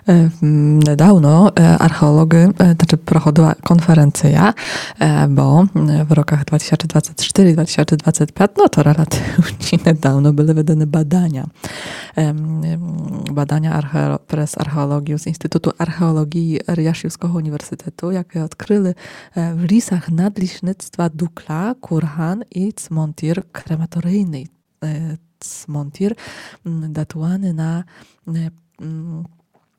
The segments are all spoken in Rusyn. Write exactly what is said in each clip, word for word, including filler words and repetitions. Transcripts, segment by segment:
Е, м, недавно, е, археолоґы, е, значыт, проходила конференция, е, бо, м, в роках два тисячы двадцять штыри, два тисячы двадцять пять, но то релативні недавно, были выданы баданя. Ем, ем, баданя архео-, през археолоґію з Інстытуту археолоґії Рияшівского універсітету, якы одкрыли, е, в лісах надлісництва Дукля курган і цмонтір крематорийный. Е, цмонтір, м, датуваны на, е, м,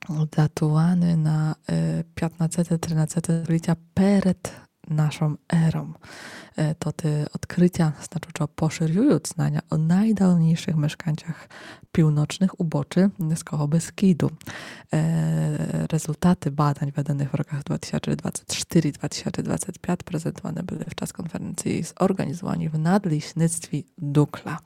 датуваны на, е, пятнадцете, тринадцете столітя перед нашом ером. Е, тоты одкрытя, значыт, што пошырюют знаня о найдавнійшых мешканцях півночных убочы Низкого Бескіду. Е, резултаты бадань, выданых в роках два тисячы двадцять штыри, два тисячы двадцять пять, презентуваны были в час конференциі зорґанізуваній в надлісництві Дукля.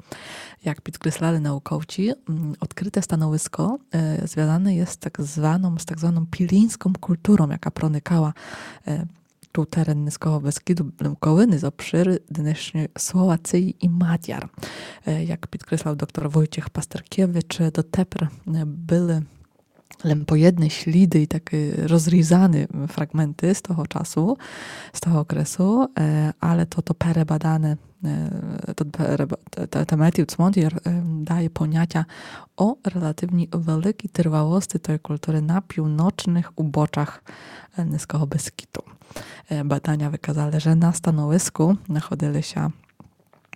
Як підкреслали наукоўці, м, одкрыте становиско, е, звязане єст з так званом, з так званом піліньском культуром, яка проникала, е, ту терен Низкого Бескіду, Лемковины з обшыру днешньой Словациі і Мадяр. Е, як підкреслив доктор Войціх Пастеркевич, дотепер, е, были лем поєдны сліды і такы розрізаны фраґменты з того часу, з того окресу, е, але то, то перебадане, е, то переба-, те, те, те метіл цмонтір, е, дає понятя о релативній великій тырвалости той культуры на півночных убочах, е, Низкого Бескіду. Е, баданя выказали, же на становиску находили ся,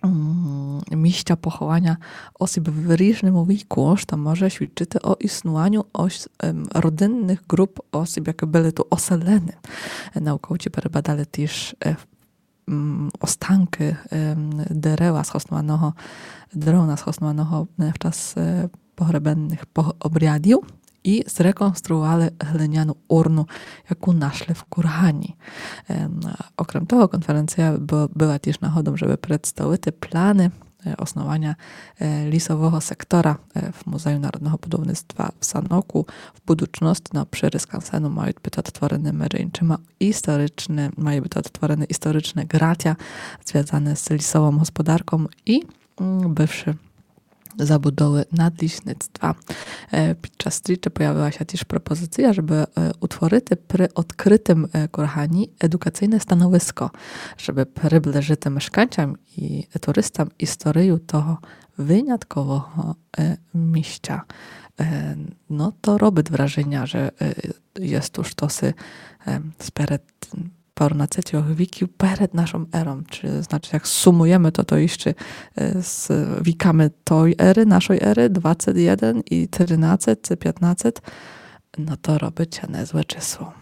м, місця похованя осіб в різному віку, што може свідчыти о існуваню ось, ем, родинных ґруп осіб, якы были ту оселены. Е, наукоўці перебадали тіж, е, м, останкы, ем, дерева схоснуваного, древна схоснуваного, е, в час, е, погребенных пог-, обрядів і зреконструували глиняну урну, яку нашли в кургані. Ем, окрем того, конференция б-, была тіж нагодом, жебы представити планы, е, основаня, е, лісового сектора, е, в Музею народного будівництва в Саноку. В будучности на обшырі скансену мають быти одтворены, межи іншыма, історичны, мають быти одтворены історичны ґратя, звязаны з лісовом господарком і, м, бывшы забудовы надлісництва. Е, під час стрічы появила ся тіж пропозиция, жебы, е, утворити при одкрытым, е, кургані едукацийне становиско, жебы приближити мешканцям і туристам історию того виняткового, е, місця. Е, но, то робит враженя, же, е, єст уж то си, е, сперед паронадцятьох віків перед нашом ером. Чи, значыт, як сумуєме то, то іщы, е, з віками той еры, нашой еры, двадцет єден і тринадцет, ци пятнадцет, но то робит ся незле число.